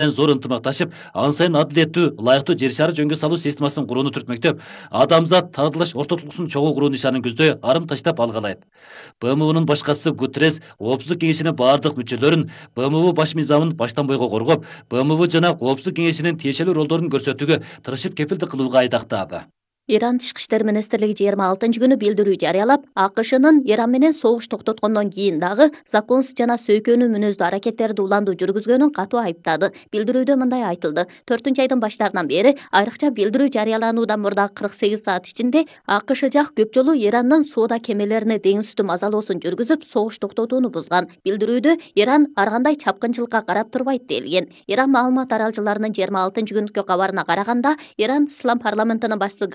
зор ынтымакташып, ан сайын адилеттүү, ылайыктуу жер шары жөнгө салуу системасын курууну түртмөктөп, адамзат тагдырлаш ортодулуксун чогуу куруу нишанын көздөй арым таштап алгалайт. БМУнун башкачысы Гутеррес Коопсуздук кеңешинин бардык мүчөлөрүн БМУ баш мыйзамын баштан бойго коргоп, БМУ жана Коопсуздук кеңешинин тиешелүү ролдорун көрсөтүүгө тырышып кепилдик кылууга айдактады. Иран Тышкы иштер министрлиги 26-күнү билдирүү жарыялап, АКШнын Иран менен согуш токтоткондон кийин дагы законсуз жана сөйкөнүү мүнөздүү аракеттерди уланду жүргүзгөнүн катуу айыптады. Билдирүүдө мындай айтылды: 4-айдын баштарынан бери айрыкча билдирүү жарыялануудан мурда 48 саат ичинде АКШ жак көп жолу Ирандын соода кемелерине деңиз үстү мазалоосун жүргүзүп, согуш токтотууну бузган. Билдирүүдө Иран ар кандай чапкынчылыкка карап турбайт делген. Иран маалымат аралчыларынын 26-күнкү кабарына караганда, Иран Ислам парламентинин башчысы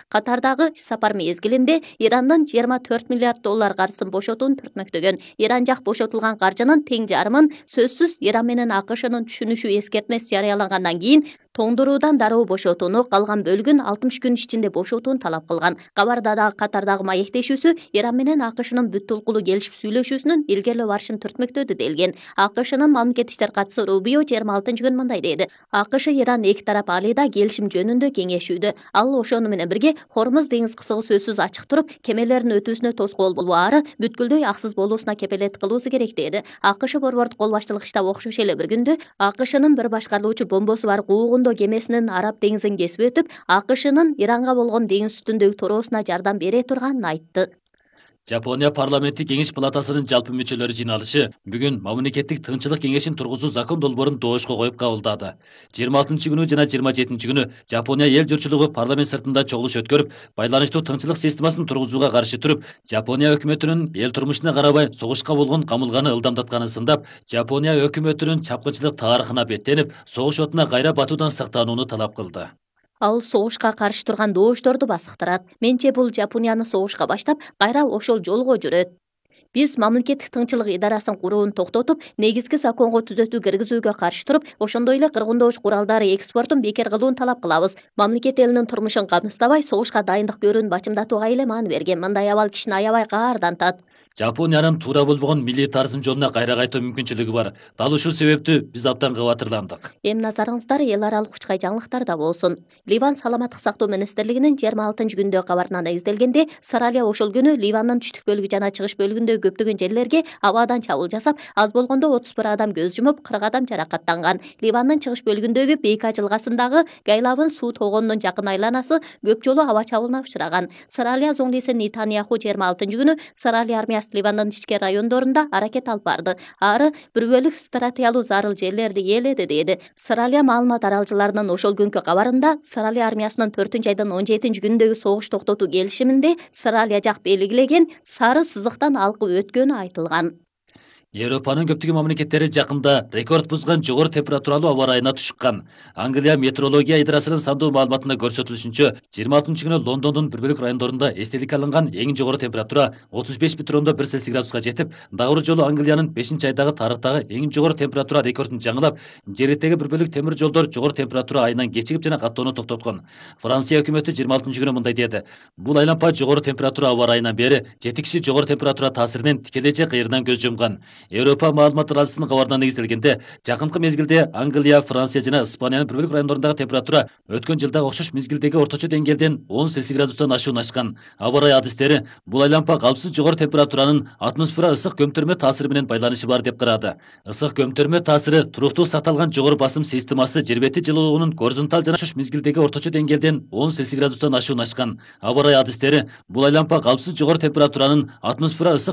Катардагы иш сапар мезгилинде Ирандын 24 миллиард доллар каржысын бошотууну түртмөктөгөн. Иран жак бошотулган каржынын тең жарымын сөзсүз Иран менен АКШнын түшүнүшү эскертмеси жарыялангандан кийин тоңдуруудан дароо бошотууну, калган бөлүгүн 60 күн ичинде бошотууну талап кылган. Кабарда дагы Катардагы маектешүүсү Иран менен АКШнын бүт толкулуу келишип сүйлөшүүсүнүн илгерилөө барышын түртмөктөдү делген. АКШнын мамлекеттик иштер катчысы Рубио 26-күнү мындай деди: АКШ Иран эки тарап алыйда келишим жөнүндө кеңешүүдө. Ал ошону менен бирге Хормуз деңиз кысыгы сөзсүз ачык туруп, кемелердин өтүүсүнө тоскоол баары бүткүлдөй аксыз болуусуна кепелет кылуусу керек деди. АКШ борбордук кол баштылык штаб окшош эле бир күндө АКШнын bir башкарылуучу бомбосу бар куугундоо кемесинин Араб деңизин кесип өтүп, АКШнын Иранга болгон деңиз үстүндөгү тороосуна жардам бере турганын айтты. Жапония парламенттик кеңеш палатасынын жалпы мүчөлөрү жыйналышы бүгүн мамлекеттик тынччылык кеңешин тургузуу закон долбоорун доошко коюп кабылдады. 26-күнү жана 27-күнү Жапония эл журтчулугу парламент сыртында чогулуш өткөрүп, байланыштуу тынччылык системасын тургузууга каршы туруп, Жапония өкмөтүнүн эл турмушуна карабай согушка болгон камылганы ылдамдатканын сындап, Жапония өкмөтүнүн чапкынчылык тарыхына беттенип, согуш отуна кайра батуудан сактанууну талап кылды. Ал согушка каршы турган доошторду басыктырат. Менче бул Жапонияны согушка баштап, кайра ошол жолго жүрөт. Биз мамлекеттик тынччылык идарасын курууну токтотуп, негизги законго түзөтүү киргизүүгө каршы туруп, ошондой эле кыргындоож куралдары экспортун бекер кылууну талап кылабыз. Мамлекет элинин турмушун камсыздабай, согушка дайындык көрүүнү бачымдатууга эле маан берген. Мындай абал кишини аябай каардантат. Жапониянын туура болбогон милитаризм жолуна кайра кайтуу мүмкүнчүлүгү бар. Дал ушул себептүү биз абдан кабатырландык. Эми назарыңыздар эл аралык учкай жаңылыктарда болсун. Ливан саламаттык сактоо министрлигинин 26-күндө кабарынан изделгенде, Саралия ошол күнү Ливандын түштүк бөлүгү жана чыгыш бөлүгүндөгү көптөгөн жерлерге абадан чабуул жасап, аз болгондо 31 адам көз жумуп, 40 адам жаракаттанган. Ливандын чыгыш бөлүгүндөгү Бейка жылгасындагы Гайлавын суу тогонунун жакын айланасы көп жолу аба чабуулуна учураган. Саралия зоңдиси Нетаньяху 26-күнү Саралия армиясы Ливандын ички райондорунда аракет алып барды. Ары бир бөлүк стратегиялуу зарыл жерлерди ээледи деди. Саралия маалымат аралчыларынын ошол күнкү кабарында Саралия армиясынын 4-айдын 17-күнүндөгү согуш токтотуу келишиминде Саралия жак белгилеген сары сызыктан алкып өткөнү айтылган. Европанын көптөгөн мамлекеттери жакында рекорд бузган жогору температуралуу аба ырайына тушкан. Англия метеорология идарасынын сандуу маалыматында көрсөтүлүшүнчө, 26-күнү Лондондун бир бөлүк райондорунда эстеликке алынган эң жогору температура 35,1 Цельсий градуска жетип, дагы бир жолу Англиянын 5-айдагы тарыхтагы эң жогору температура рекордун жаңылап, жердеги бир бөлүк темир жолдор жогору температура айынан кечигип жана каттоону токтоткон. Франция өкмөтү 26-күнү мындай деди: бул айлампа жогору температура аба ырайынан бери 7 киши жогору температура таасиринен тикелей же кыйырынан көз жумган. Европа маалымат аралчысынын кабарына негизделгенде, жакынкы мезгилде Англия, Франция жана Испаниянын бир бөлүк райондорундагы температура өткөн жылдагы окшош мезгилдеги орточо деңгээлден 10 Цельсий градустан ашуун ашкан. Аба ырайы адистери бул айлампа калпсыз жогору температуранын атмосфера ысык көмтөрмө таасири менен байланышы бар деп карады. Ысык көмтөрмө таасири туруктуу сакталган жогору басым системасы жер бети жылуулугунун горизонталь жана окшош мезгилдеги орточо деңгээлден 10 Цельсий градустан ашуун ашкан. Аба ырайы адистери бул айлампа калпсыз жогору температуранын атмосфера ысык